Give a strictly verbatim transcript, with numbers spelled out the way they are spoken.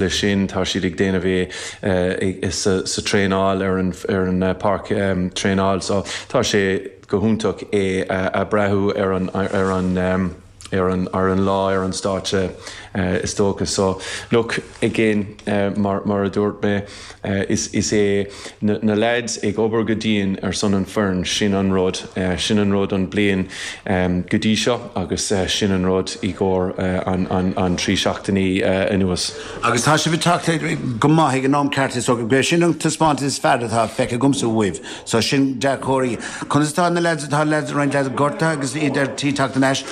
Leis sin tá siad ag déanamh é sa, sa traenáil ar an, ar an páirc um, traenáil, so tá sé go hiontach é a breathnú ar an ar an um, ar an ar an lá ar an stáitse uh, is dócha so look again uh, mar, mar a dúirt mé uh, is, is é na, na lads ag obair go dian ar son an foireann sin an rud uh, sin an rud an bliain um, go dtí seo agus uh, sin an rud i gcóir uh, an, an, an trí seachtainí uh, anuas. Agus tá sibh ag teacht go maith ag an am ceart so go sin an taispeántas is fearr atá feicthe agamsa uaibh, so sin dea-chomhartha. Conas tá na lads atá lads roinnt lads gortaithe agus iad ar tí teacht anois